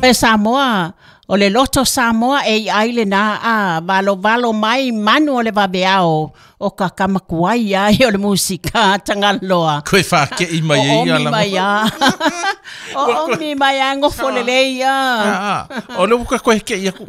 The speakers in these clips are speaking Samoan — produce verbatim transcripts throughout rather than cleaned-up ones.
E Samoa, o le loto Samoa e i ai le nā a valo valo mai manu o le vaveao o ka kamakuai ai o le musika Tagaloa. Koe whake i mai O e ia omi la mai a. O omi mai a ngofo le lei a. Ah, ah. O le uka koe ke ia ku.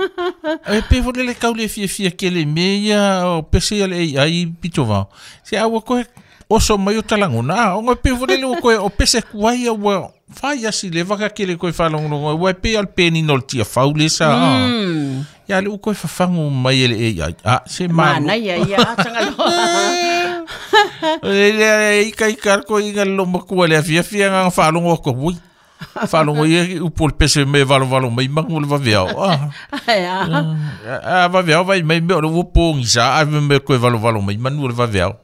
E pe fo le kau le fia fia ke le me ia o pese ia le ai pito vao. Se aua koe oso mai o talangona. Ah, o pe fo le koe o pese kuai ia ua whai asi le waka ke le koe whalongongo. Ua pe al peni no le tia faule sa. Mm. Ia le ukoe whawhangu mai e le A I. Ah, se malu. Mana ia ia a Tagaloa. Le le ika ika ko inga lo makua le fia fia nga whalongo ko ui. Whalongo ia upo le pese me valo valo mai mangu le vaveao. Ah. Ai a. A vaveao vai mai me o le upo sa a me koe valo valo mai manu le vaveao.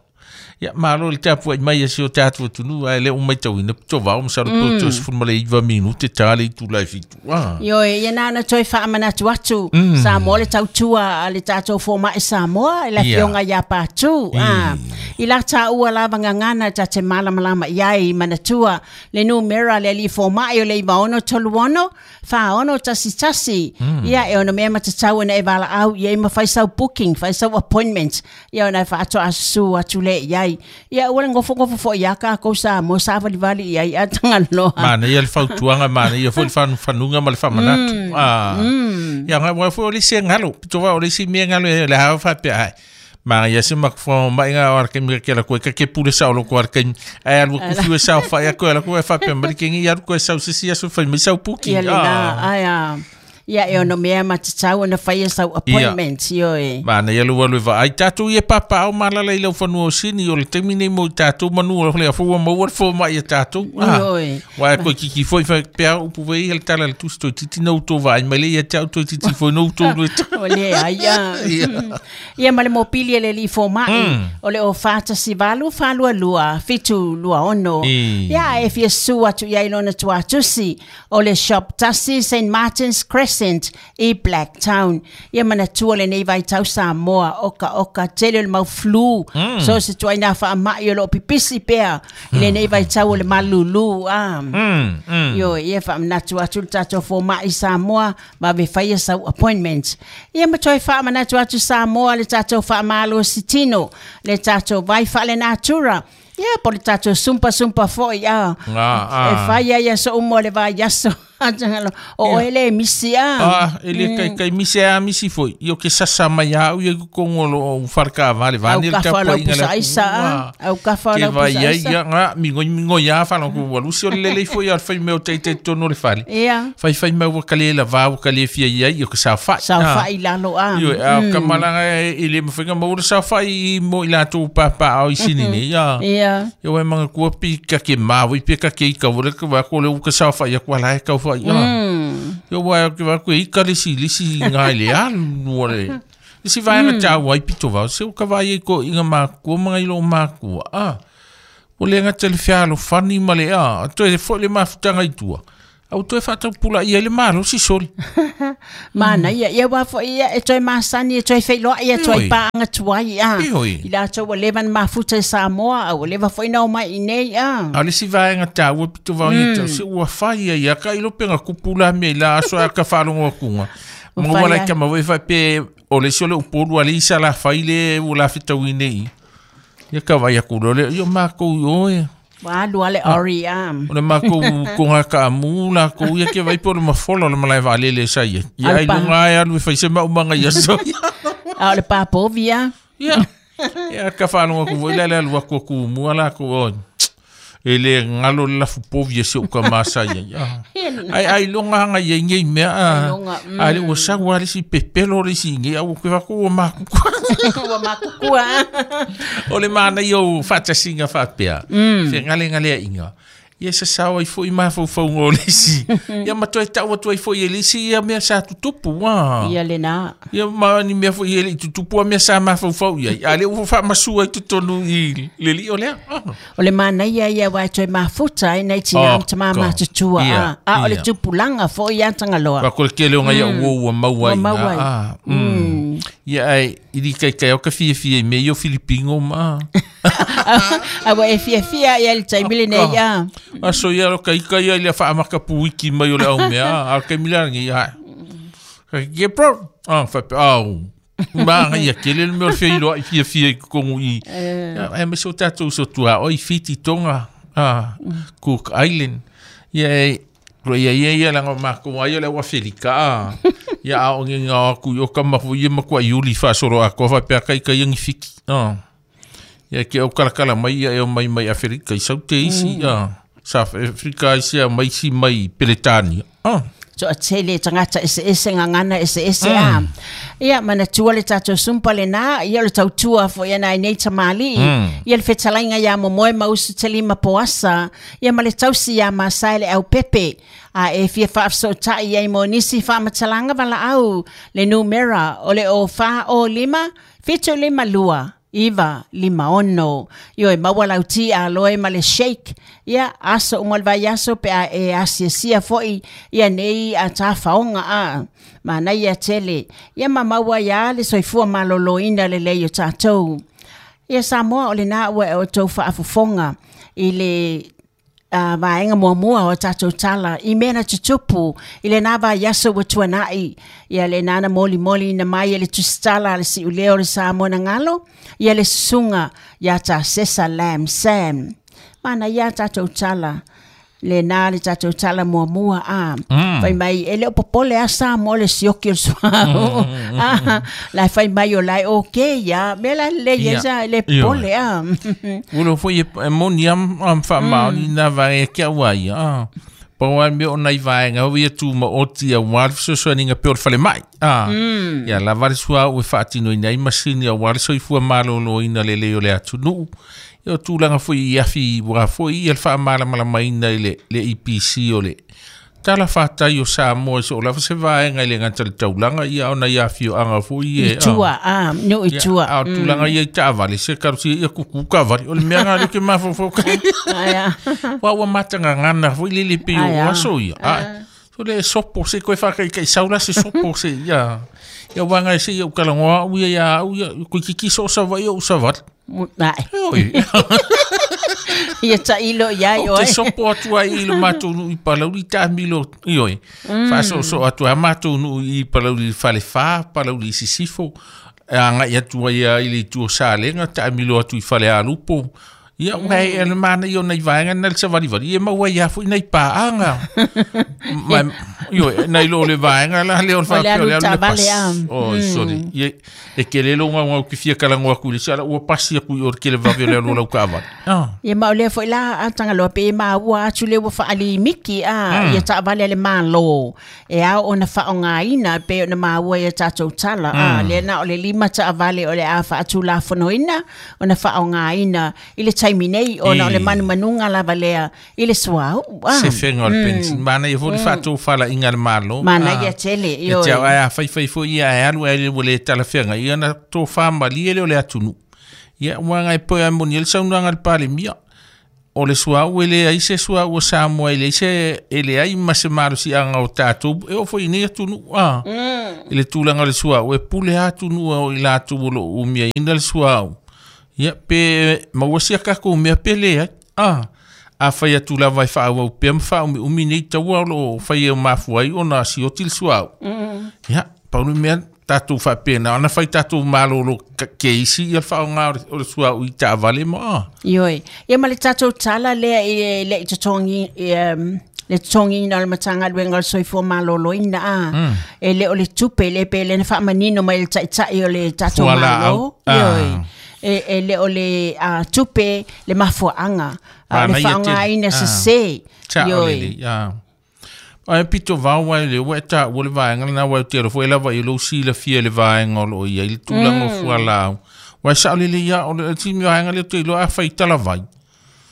Ia malo le tapu ai mai e si o tātu tunu ai le o mai tauina to vao masalo po to sefulu ma le iva minute ta le itu lai fitu. Ah. Io e ia nana toi whaamanatu atu Samoa le tautua a le tātou fōma'i Samoa e la Ia. fionga ia pātū. Ah. I la tā ua lava ngangana ta te malamalama i ai manatua le numera le ali fōma'i o le iwa ono tolu ono wha ono tasi tasi. Ia e ono mea matatau na e wala au ia i ma whai sau booking, whai sau appointment. Ia ona e whaato asusu atu le i ai. Ia ua le ngofo ngofo fo ia ka kou Samoa sa vali vali i ai a Tagaloa. Mana ia le fautuanga mana ia foi le whanu whanunga ma le whamanatu. Ah. Ia nga wa foi o le se ngalo. Pito wa o le si mea ngalo e le hawa whapea ai. Mana ia se makufo mai ngā o arke mika ke la koe ka ke pule sao lo ko arke ai alu kufi e sao whai a koe la koe whapea mari ke ngi alu koe sau sisi aso whai mai sau puki. Ia le na, ai a. Ia e ono mea matatau na whai sau appointment, io e. Mana ia lua lua ai tātou ia papa au malala i lau whanua o sini o le taimi nei mo i tātou manu o le afua maua le fō mai ia tātou. Ah. Io e. Wai koe kiki foi whai pea upu wei hele tala le tusi toi titi na uto vai mai le ia te au toi titi foi no uto lue ta. O le ai a. Ia ma le mopili e le li fōma'i. O le o whātasi valu, whālua lua, fitu lua ono. I. Ia e fia su atu ia ilona tuatusi. O le shop tasi Saint Martin's Crescent i Blacktown. Ia manatua le nei vai tau Samoa, oka oka, tele o le mau flu. So se tuai nā whaamai o lo pipisi pea. I le nei vai tau o le malulu. Ah. Mm, mm. Io, ia whaamanatu atu le tātou fōma'i Samoa, ma ve whaia sau appointment. Ia ma toi whaamanatu atu Samoa le tātou whaamalo sitino, le tātou vai whaale natura. Ia, po le tātou sumpa sumpa foi, ah. Ah, ah. E whaia ia so umo le vai aso. O Ia. ele misi a. Ah, ele kai kai misi a misi foi. Io ke sasa mai au ia kongo lo o wharka vale Au vani le ka tapu whalau inga le pusa aisa, ah. Au ka Ke whalau vai pusa ia aisa. ia nga mingo mingo ia whalau ku walusi o le lele foi al whai meo te te tono le whale. Ia. Whai whai mau wa kale la vau kale fia ia ia ka sa whai. Sa Ah. whai lalo a. Io a kamalanga e le mawhenga maura sa whai i mo i lātou pāpā au i sini nei. Ia. Ia. Ia wai manga kua pi ka ke māui pi ka ke ika wale ka wā ko le uka sa whai a kua lai kau whai. Ia. Mm. Ia wai ke wā koe ika le si lisi ngai le alu wale. Lisi vaenga tā wai pito wau. Se uka vai e ko inga mākua manga ilo mākua. Ah. O le nga te le whialo whani ma le a. Toe fo le mafutanga i tua. Au toe whatau pula ia le malo si soli. Mana ia ia wa fo ia e toe masani e toe whailoa ia toe Ioi. paanga tuai a. Ioi. I lātou ua leva na mafuta i Samoa a ua leva foi nau mai i nei a. A le si vaenga tā ua pito vau ia tau. Se ua whai ia ia ka ilo penga kupula mea i la aso a ka whalongo akunga. Ua Mga whai wala ai. ka mawe whai pe o le si o le upolu a le isa la whai le ua la whitau i nei. Ia ka vai aku le ia mākou i oe. Wa alu ale ori a. O le mākou ko ngā ka amu la ko ia ke vai po le mafola o le malae vaalele sa ia. Ia ai Alpa. lunga ai alu e whai se maumanga ia so. A o le pāpovi a. Ia. Ia ka whanonga ku voi le le alu aku aku mua la ku o. E le ngalo le lafu povi e se uka masa ia. Ia. Ai ai longa hanga ia ngei mea. Ai longa, mm. Ai le ua sau a le si pepelo le si ngei au ke wako ua mākukua. Ua mākukua. O le mana i au whatasinga whapea. Mm. Whe ngale ngale a inga. Ia sa sao ai foi mafaufauga o le isi. Ia ma toe tau atu ai foi e le isi ia mea sa tutupu a. Ia le nā. Ia ma ni mea foi e le i tutupu a mea sa mafaufau ia. A le ua faamasua i totonu i le lio lea. Ah. O le mana ia ia wai toe mafuta e nei tina Oh, oh, tama God. matutua Ia, a. A o le ia. tupulanga fo ia tangaloa. Wa ko le kele o ngai ua ua maua Ua i maua ai. Ah, mm. Ia ai ili kai kai o ka fia fia me yo Filipino ma. Awa e fia fia ia le taimi lenei ia. Aso ia lo kai kai ia le whaamaka puiki mai o le au mea. A kai mila ngi ia. Ke pro. Ah fa au. Ma ia kele le mea o fia iloa i fia fia i kongu i. Ia me so tatou so tua o i Fiti Tonga. Ah Cook Island. Ia e ia ia ia langa mako ai le wa Felika. Ia a o nginga ku yo kama fu ye makwa yuli fa soro a ko fa pe kai kai ngi fiki. Ah. Ia ke o kala kala mai ia e mai mai Afrika i saute isi ah. South Africa isi mai si mai Peletania. Ah. So a tele tangata ese ese ngangana ese ese a. Ia manatua le tatou sumpa le na ia le tautua fo ia nai nei tamali. Ia le fetalainga ia momoe mausu telima poasa. Ia ma le tausi ia masai le au pepe. A e fia whaafsotai ia i mo nisi whaamatalanga wala au le numera o le o wha o lima fitu lima lua. Iwa lima ono. Io e maua lauti a loe ma le shake. Ia aso umal vai aso pe a e asia sia foi. Ia nei a tā whaonga a. Ma nei a tele. Ia ma maua ia le soifua maloloina le lei o tātou. Ia Samoa o le nā ua e o tau whaafufonga. I le uh, vaenga muamua o tātou tala. I mena tutupu. I le nā vai aso ua tuanai. Ia le nana moli moli na mai e le tusitala le si uleo le Samoa na ngalo. Ia le susunga ia tā sesa lam sam. Mana ia tātou tala. Le nā le tātou tala muamua a. Mm. Whai mai e leo popole a Samoa le sioki o le suau. Mm. Ah, lai whai mai o lai o ke ia. Me la le ia sa le popole a. Ulo foi e moni am am wha maoni nā vai e kia ua ia. Paua me o nai vaenga o ia tu ma oti a wal fesoasoani pe o le fale mai. Ah. Mm. Ia la vale sua o e whaatino i nei masini a wale soifua maloloina le leo le atunuu. Ia o tūlanga foi i awhi wā foi i al wha malamalamaina i le, le E P C o le tala whātai o Samoa so o lava se vaenga i le ngata le taulanga ia ona i awhi o anga foi e. I tua, ah, no i tua. A o tūlanga ia i taavale se karusi ia kuku kavali o le mea ngā ke mawhawhau kai. Wa ua matanga ngana foi lele pe o aso ia. Ah, so le sopo se koe whakai kai saula se sopo se ia. Ia wanga se ia ukalangoa uia ia uia kui kiki so sa vai o sa Nai. Ia ta ilo ia i oe. O te sopo atua i le mātou nuu i Palauli tā milo i oe. Whaso so atua mātou nuu i Palauli whale wha, Palauli Sisifo. A ngai atua ia i le tua sālenga, tā milo atu i whale alupo. Ia wai e le mana i o nei vaenga na le savalivali. Ia maua ia fo i nei pāanga. Io nei lo le vaenga la le o le whapeo le alu le pas. Oh, sorry. Ia e ke le longa ngau ki fia kalangoa ku le sala ua pasi aku i o ke le vave o le alu lau kaavali. Ia mau lea foi la a tangaloa pe ma ua atu le ua whaali miki a ia taavale le malo. E au ona whaongaina pe ona maua ia tātou tala. A le na o le lima taavale o le a whaatu la whanoina ona whaongaina i le taimi nei ona o le manumanunga lava lea i le suau. Se whenga o le pensin. Mana ia fo le whaatou whala inga le malo. Mana ia tele. E te au aia whai whai fo ia e alu e le le tala whenga. Ia na tō whamali e le o le atunu. Ia wanga e poe a moni ele saunanga le pale mia. O le suau e le ai se suau o Samoa e le se e le ai ma se malo si anga o tātou. E o fo i nei atunu. E le tūlanga le suau. E pule atunu o i lātou o lo umia ina le suau. Ia pe mauasia kako mea pe le ai. Ah. A whai atu la vai whaau au pea mwha umi umi nei taua o whai e o mafu ai o nā sioti le suau. Ia, paunu mea tātou whapena, ana whai tātou malolo ke isi ia whao ngā o le suau i tāvale ma. Ioi, ia ma le tātou tala lea i le i tatongi, le tongi na le matanga luenga o le soifua maloloina a. E le o le tupe le pe le na whaamanino mai le taitai o le tātou malo. Ioi. E, e le o le uh, tupe le mafuaanga uh, le whaongaina se se. Ioi. Ai pito vau ai le ua ta ua le vaenga na wai te ro foi lava i lo si le fia le vaenga o lo ia i le tūlanga o fualau. Wai sao le le ia o le timi vaenga le te lo a whai talavai.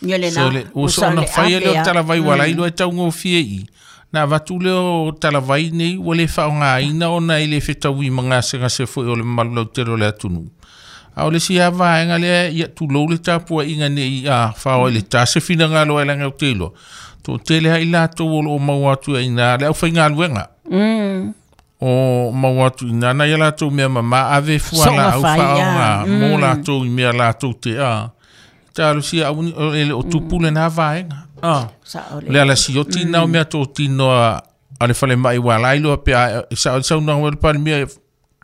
Ia le na. O so na whai le o talavai wala i lo e taungo fia i. Nā vatu le o talavai nei ua le whaongaina o na i le whetaui mga se foi o le malu lau te ro le atunu. A o le si a vaenga le ia tūlou le tāpua inga nei a whao i le tase whina ngā loa e langa o te loa. Tō tele hai lātou o lo o mau atu e ina le au whai ngā luenga. Mm. o mau atu ina na ia latou mea mama ave fua la au faaaoga mo latou i mea latou te a talosia auni o le o tupu lena vaega a le ala sioti na o mea totino a le falemai ua lai loa pe sa sa una o le palemia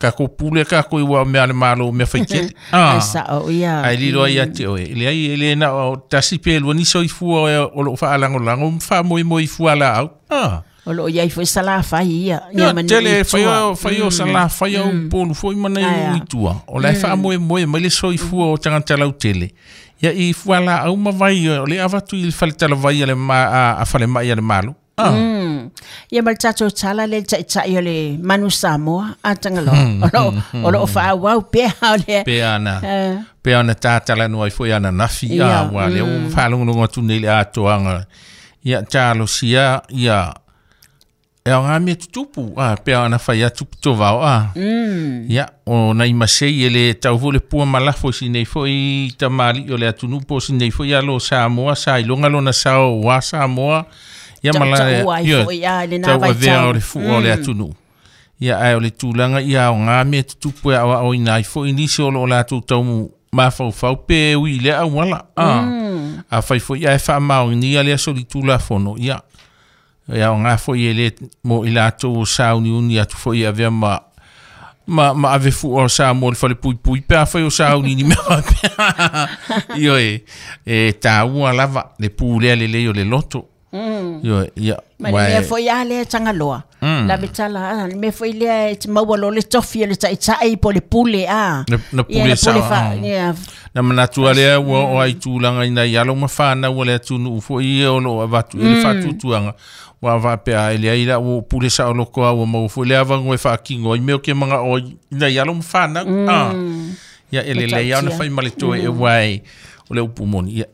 ka ko pule ka ko iwa mea le malo mea faitele a sao ia ai lilo ia te oe le ai le na o tasi pe lua ni soifua o lo faalagolago ma faamoemoe i fua laau a o loo iai foi salafai ia ia manu tele fai o fai o salafai o polu foi mana i tua o la faamoemoe mai le soifua o tagata lautele ia i fua laau ma vai o le avatu i le faletalavai a le ma a falemai a le malo. Ia ma le tatou tala le taʻitaʻi o le manu Samoa a Tagaloa o loo o loo faaauau pea o le pea ana pea ana tatalanoa ai foi ana nafi a ua lea ua faalogologo atu nei le atoaga ia talosia ia e aoga mea tutupu a pea ana fai atu pitovao a ia o nai masei e le tau foi le pua malafo i sinei foi tamaliʻi o le atunuu po o sinei foi alo Samoa sa iloga lona sao ua Samoa ia mala ia tau avea o le fua o le atunuu ia ae o le tulaga ia aoga mea tutupu e aoaoina ai foi nisi o loo latou tau mafaufau pe ui i lea auala a afai foi ae faamaonia lea solitulafono ia ia aoga foi e le mo i latou o sauniuni atu foi avea ma ma ma ave fua o Samoa le falepuipui pe afai o sauniuni mea faapea ioe e taua lava le pulea lelei o le loto. Ioe ia ma le mea foi a lea Tagaloa la vetala le mea foi lea e te maua lo le tofi o le taʻitaʻi po le pule a na pule sa na manatu lea ua o ai tulaga ina i alo ma fanau o le atunuu foi ia o loo avatu i le faatuatuaga ua faapea e leai la ua pule saoloko a ua maua foi le avago e faatino ai mea o ke magao ina i alo ma fanau a ia e lelei a ona fai ma le toe e uae o le upu moni ia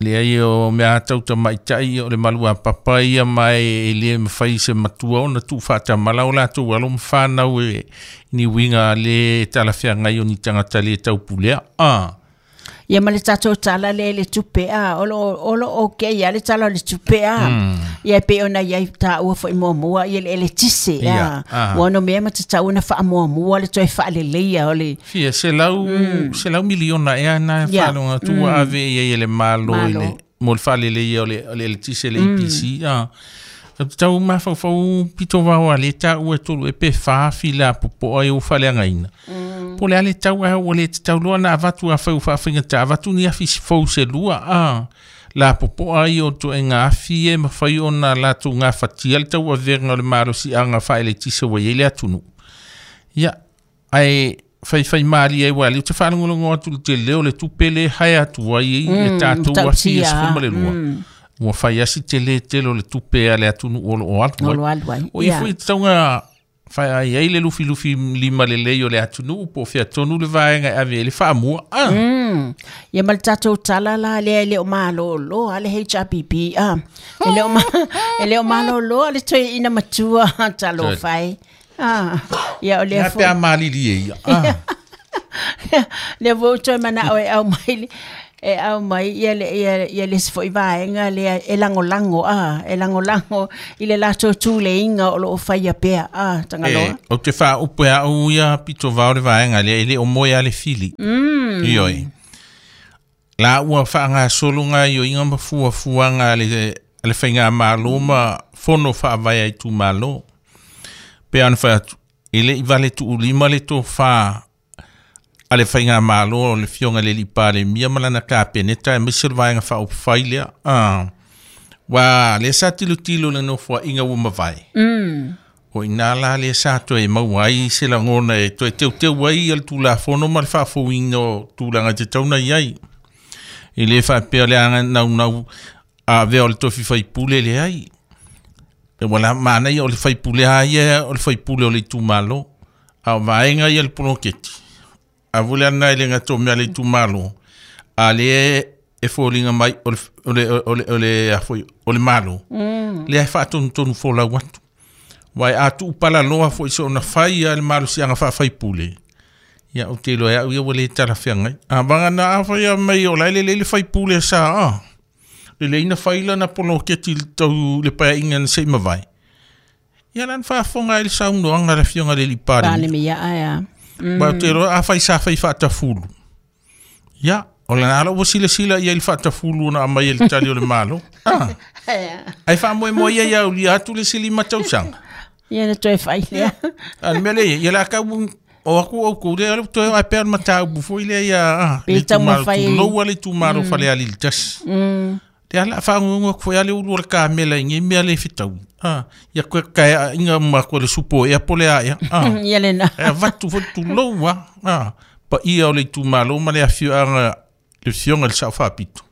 leai o mea tautamaitaʻi o le malu a papa ia ma e le mafai se matua ona tuufaatamala o latou alo ma fanau e ni uiga le talafeagai o ni tagata le taupulea a ia ma le tatou tala le le tupe a o loo o loo okay ia le tala o le tupe a ia pe ona iai taua foi muamua ia le eletise a ua ono mea ma tatau ona faamuamua le toe faaleleia o le fia selau selau miliona ea na faaloga atu ua ave ia i le malo i le mo le faaleleia o le o le eletise le E P C a tau mafaufau pitovao a le taua e tolu e pe fa fila popoa e ua faaleagaina po le ale tau a ua le tatau loa na avatu afai ua faafaigata avatu ni afi fou se lua a la popoa ai o toega afi e mafai ona latou gafatia le tauavega o le malosiaga faaeletise ua iai le atunuu ia ae faifai malie ai ua lea ou te faalogologo atu le tele o le tupe le hae atu ai e tatou afi e sefulu ma le lua ua fai asi tele tele o le tupe a le atunuu o loo alu ai o ia foi tatauga fai ai ai le lufilufi lima lelei o le atunuu po o featonu le vaega e ave ai le faamua a ia ma le tatou tala la lea e le o malōlō a le H R B B a e le o e le o malōlō a le toeaina matua talofai a ia o lea foi pe a malili e ia a lea foi toe manao e au mai e au mai ia le ia ia le isi foi vaega lea e lagolago a e lagolago i le latou tuleiga o loo faia pea a Tagaloa e ou te faaupu e aʻu ia pitovao le vaega lea e le o moe a le fili ioe la ua faagasologa ioiga ma fuafuaga a le a le faigamalo ma fono faavae ai tumalo pe ana fai atu e leʻi vale tuulima le tofā a le faigamalo o le fioga le lipalemia ma lana kapeneta e maise le vaega faaupufai lea a ua lea sa tilotilo le nofoaʻiga ua mavae o ina la lea sa toe maua ai se lagona e toe teuteu ai ia le tulafono ma le faafouina o tulaga e tatauna i ai e lē faapea le aga naunau avea o le tofi faipule leai e ua manaia o le faipule a ia o le faipule o le itumalo a o vaega ia le poloketi a vule ana i le gato mea le itumalo a le e foliga mai o le o le o le o le afoi o le malo lea e faatonutonu folau atu uae a tuupalaloa foʻi soona fai a le malosiaga faafaipule ia ou te iloa e aʻu ia ua lē talafeagai a vagana afai a mai o lae lelei le faipule sa a lelei na fai lana poloketi i le tau le paeaiga na seʻi mavae Ia lan faafofoga ai le saunoaga le afioga le alii Palemia ae. Ma ou te iloa afai sa fai faatafulu. Ia, o lena lava ua silasila i ai le faatafulu na aumai e le tali o le Malo. Ah. Ai faamoemoe ia ia aulia atu le isi lima tausaga. Ia na toe fai lea. A le mea lea ia la kau o aku au ku le toe ai pe mataupu foi lea ia ah, Pe le itumalo taumafai. Tuloua le itumalo Falealili tasi. Te ala whaangungu aku foi ale ulu o le kamela i ngi mea le fitau. Ah, ia koe kaea inga ma koe le supo e apole a ia. Ah. Ia lena. E avatu foi tuloua. Ah, pa ia o le itumalo ma le afioaga le fioga le sao faapito.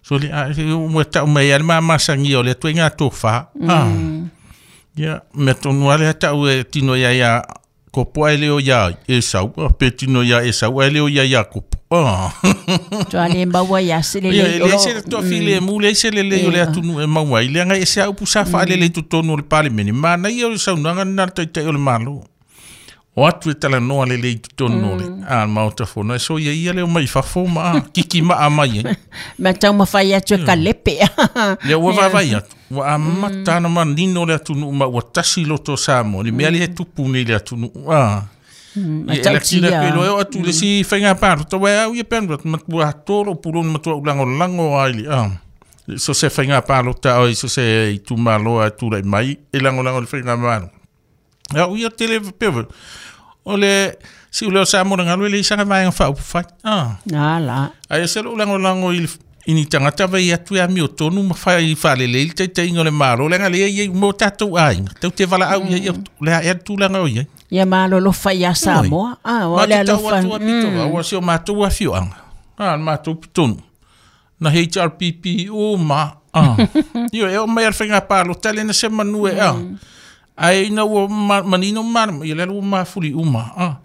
So le a se ua tau mai ai le mamasagia o le atu ai ngā tōwha. Ah. Ia, mea tonu ale a tau e tino ia ia kopo ai leo ia e sau, pe tino ia e sau ai leo ia ia kopo. Ah. Toa le maua ia se le Ia, le. e le se toa file mu le se le le o le atunu e maua ai. Leaga e se au pusa whaale le totonu o le palemene. Mana ia o le saunoaga na le taitai o le Malo. O atu e talanoa le le i totonu o le a maota fono. E so ia ia leo mai fafo ma a, kiki maa mai ai. Ma taumafai atu e kalepe. Lea ua vaavai atu. Ua amata na manino le atunuu ma ua tasi loto o Samoa. Le mea lea e tupu nei le atunuu. Ah. Ma Ia, e laki la tautia. koe loa e o atu le si whainga pāro. Tawa au ia pēnu, matua tōro puloni matua ulango lango ai le. Ah. So se whainga pāro ta oi, so se i tūmalo a tūrai mai, e lango lango le whainga māro. Ia, uia tele pewa. O le, si ule o Samoa na ngalo e le isanga vaenga whaupufai. Ah. Na la. Ai se lo lango lango i ini tangata vai atu ia mi o tonu ma whai whalele i te te ingo le māro. Le nga le ia mo tātou ai. Tau te wala au ia ia le a ea tūlanga o ia. Ia malolofa ia Samoa. Ah, o Ma le te tau alofa. atu a pito, ua si o mātou afioanga. Ah, mātou pitonu. Na H R P P o ma. Ah. Io e o mai al whainga pālo, tale na se manu e ah. Ai ina ua ma, manino ma, ia lelu ua mafuli uma. Ah.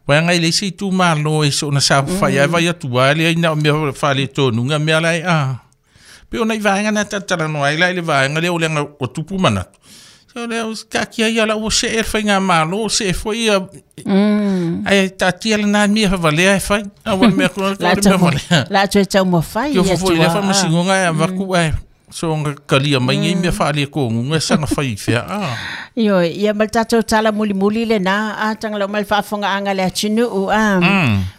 Wai ngai le isi tu mālo e so na sa whai ai vai atu ai le ina o mea whale tonu ngā mea lai ah. Pe ona i vaenga na tatara no ai lai le vaenga le o lenga o tupu manatu. So le o kaki ai ala o se e whainga mālo, se e foi ia ai tātia le nā mea whavalea e whai. A ua mea kura La le mea tau whalea. la toe taumafai Kio ia fofo i le tua. whamasingonga e avaku ai. So nga kalia mai ngai mea whaale ko ngunga sanga whai whia. Ah. Io, ia ma le tātou tala mulimuli le na, a tangalo mai le faafofoga anga le atunuu, a.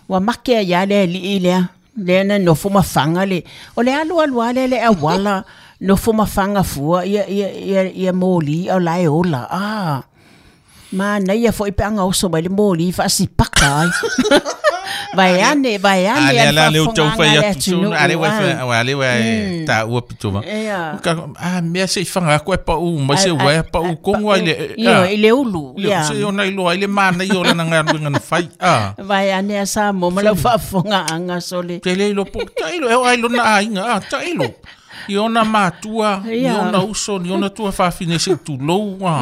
Ua make ia le alii lea. Lea na nofo mafaga le. O le alu alu a lea le auala, nofo mafaga fua, ia, ia, ia, ia moli, o lae ola. Ah. Ma naia foi pe anga oso mai le moli, faasipaka ai. Vai ane, vai ane, Ale a le ala le tau faafofoga whai anga le atu so atunuu. ale wai ah. whai ale wai tā ua pito ma. Ia. Ka ah mea se i whanga ako e pa u mai se wai pa u kongo ai le Io, i le ulu. Le Ia. se ona i loa i le mana i o lana ngā ruenga na whai. Ah. Vai ane a Samoa ma lau faafofoga anga sole. Te le ilo po ta ilo e o ai lona ainga ah ta ilo. I ona mātua, i Ia. ona uso, i ona tua whawhine se tūlou. Ah.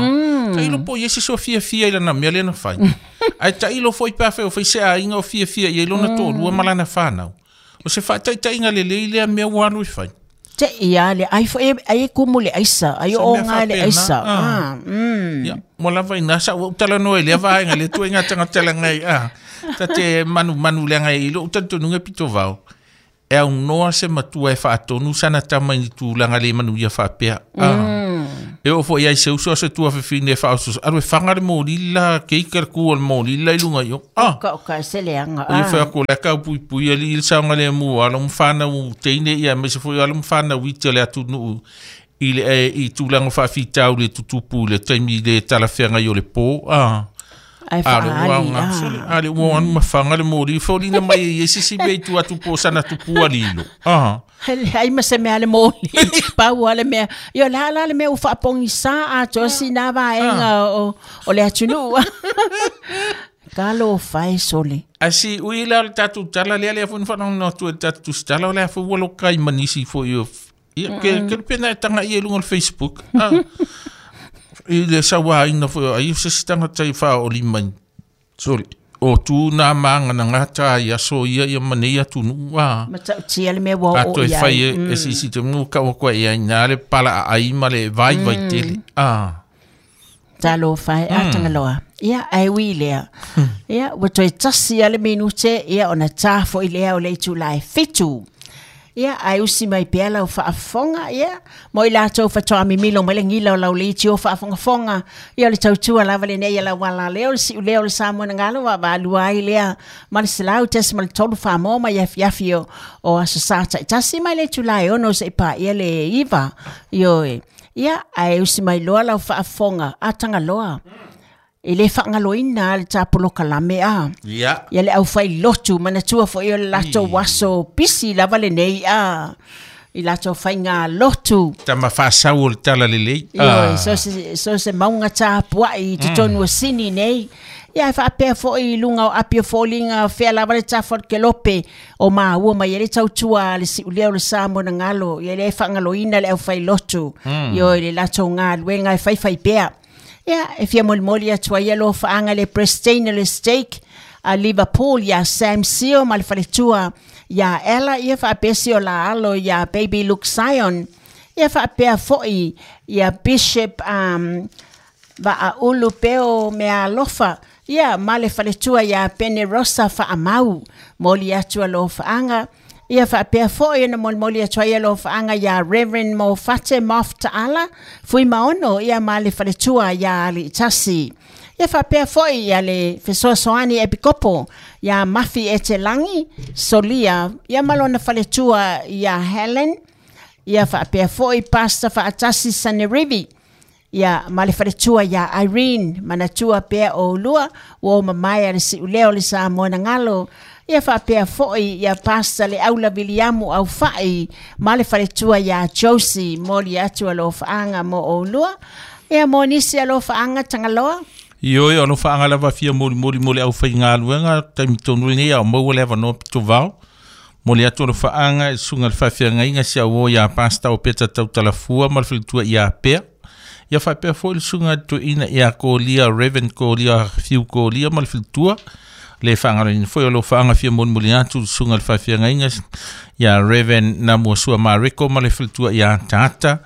Ta ilo po i ese so fia fia i lana mea lena whai. Ai ta ilo foi pā whai o whai se ainga o fia fia i lona tō lua malana whānau. O se whaataitainga le le i lea mea wānu i whai. Te ia le ai fo e ai kumu le aisa, ai Se o mea ngā le faapena, aisa. ah. Ah, mm. Ia, mo lava ina sa ua utala noa i lea vaenga le tua i ngā tangatala ngai. Ah. Ta te manu manu lea ngai i lo utantonu ngai pito vao. E au noa se matua e whaatonu sana tama i tūlanga le manu ia whaapea. Ah. E o fo iai se uso a se tua whiwhine e whaosos. Aru e whanga le mōri la, keika le kua le mōri la i lunga i o. Ah. Ka o ka se leanga. O ia Ah. whai ako le kau pui pui ali i le saunga le mua, ala mwhana u teine ia, me se fo ala mwhana u ite le atu nuu i le e, i tūlanga whaafitau le tutupu le taimi le talawhenga i o le pō. Ah. Ai Ale ua whaali. ngā, Ah. ale ua anu mawhanga le mōri. Fōlina mai e esi si mei tu atu pō sana tupu ali ilo. Ah. Ai ma se mea le moli. Pau a le mea. Io la la le mea u whaapongi sa a toa si nā vaenga o, o le atunuu. Ka lo whai sole. A si ui la le tātou tala lea lea funa whanau no tu e tātou tala o lea fu walo kai manisi fo i o. Ia, ke, ke le pena e tanga i e lunga o le Facebook. Ah. I le sawa ina fo ai o se sitanga tai wha o lima. Sorry. O tū nā maanga na ngā tā i aso ia ia mane ia tunu. Ah. Ma tau tia le mea ua o Ato e ia. whai e, e sisi te ngu ka o koe ia ina le pala a ai ma le vai vai tele. Ah. Talo whai a tangaloa. Ia, ai ui lea. Ia, ua toe tasi a le minute, ia ona tāfo i lea o le itulai fitu. Ia ai usi mai pea lau faafofoga ia mo i latou fatoa mimilo mai le gila o lau leitio faafogafoga ia o le tautua lava lenei ia lau alaleo le siuleo o le Samoa na galo vaavaalua ai lea ma le selau tesi ma le tolu famoa mai afiafi o, o aso sa taitasi mai le itulā e ono seʻi paia le iva ioe ia ae usi mai loa lau faafofoga a tagaloa e le faagaloina le tapolokalame a Ia. Ia le aufai lotu manatua foʻi o le latou aso pisi lava lenei a i latou faiga lotu Tama faasau o le tala lelei. Ioe, so se so se mauga tapuaʻi i totonu o Sini nei. Ia e faapea foʻi i luga o api o foliga fea lava le tafa o le kelope o maua mai ai le tautua a le siulea o le Samoa na galo ia le faagaloina le aufai lotu. Ioe le latou galuega e faifai pea. Ia e fia molimoli atu ai alofaaga le Prestine le Stake a Liverpool ia Sam Sio ma le faletua ia Ella ia faapea si o la alo ia Baby Luke Sion ia faapea foʻi ia Bishop um, Vaaulu Peo mea alofa ia ma le faletua ia Pene Rosa faamau moli atu alofaaga ia faapea foʻi ona molimoli atu ai alofaaga ia Reverend Mofate Moftaala Fuimaono ia ma le faletua ia Aliitasi ia faapea foʻi ia le fesoasoani epikopo ia Mafi Etelangi Solia ia ma lona faletua ia Helen ia faapea foʻi Pastor Faatasi Sanerivi ia ma le faletua ia Irene manatua pea o lua ua o mamae a le siuleo le Samoa na galo ia faapea foʻi ia Pastor le Aula Viliamu Aufai ma le faletua ia Josie moli atu alofaaga mo oulua ia mo nisi alofaaga Tagaloa. Ioe o alofaaga lava fia molimoli mo le aufaigaluega taimi tonu lenei a o maua le avanoa pitovao. Moli atu alofaaga i susuga le faafeagaiga si auō iā Pastor o Peta Tautalafua ma le faletua iā Pea. Ia faapea foʻi le susuga toeaina iā Kolia Reverend Kolia Fiu Kolia ma le faletua. Le faagaloina foi o alofaaga fia molimoli atu le susuga le faafeagaiga ia Reverend Namuasua Mareko ma le faletua iā Tata.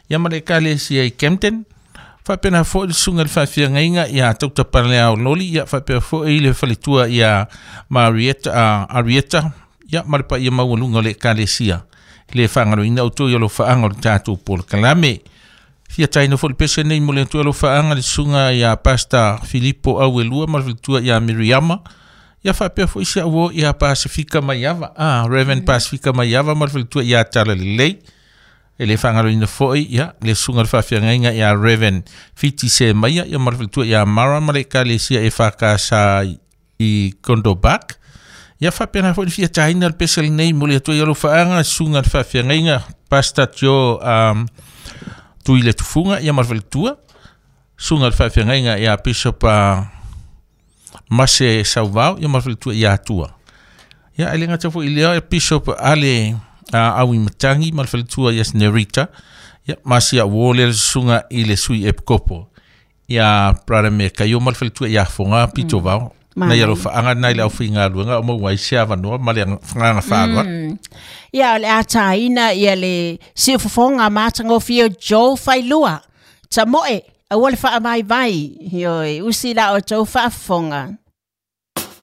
Ia ma le ekalesia i Camden. Faapena foʻi le susuga le faafeagaiga ia Tautapalea Loli ia faapea foʻi le faletua ia Marieta uh, Arieta ia ma le paia maualuga o le ekalesia. Le faagaloina outou i alofaaga o le tatou polokalame. Fia taina foʻi le pese nei mo le atu alofaaga le susuga ia Pastor Filipo Auelua ma le faletua ia Miriama. Ia faapea foʻi si auō ia Pasifika Maiava ah, Reverend Pasifika Maiava ma le faletua ia Tala Lelei. E le faagaloina foʻi ia le susuga le faafeagaiga ia Reverend Fiti Se Maia ia ma le faletua ia Mara ma le ekalesia e fakasa i Kondobak. Ia faapena foʻi le fia taina le pese lenei mo le atu ai alofaaga susuga le faafeagaiga Pastor Joe um, Tui le Tufuga ia ma le faletua. Susuga le faafeagaiga ia Bishop uh, Mase Sauvao ia ma le faletua ia Atua. Ia e le gata foʻi lea e Bishop Ale uh, au i matangi ma le faletua ia Nerita ia ma si auō le susuga i le sui epikopo ia Brother me Kaio ma le faletua ia Foga Pitovao. Na ia alofaaga nai le aufaigaluega o maua ai se avanoa ma le agaga faaaloalo. Ia o le a tāina ia le siufofoga matagofie o Joe Failua tamoe aua le faavaivai ioe usi la o tou faafofoga.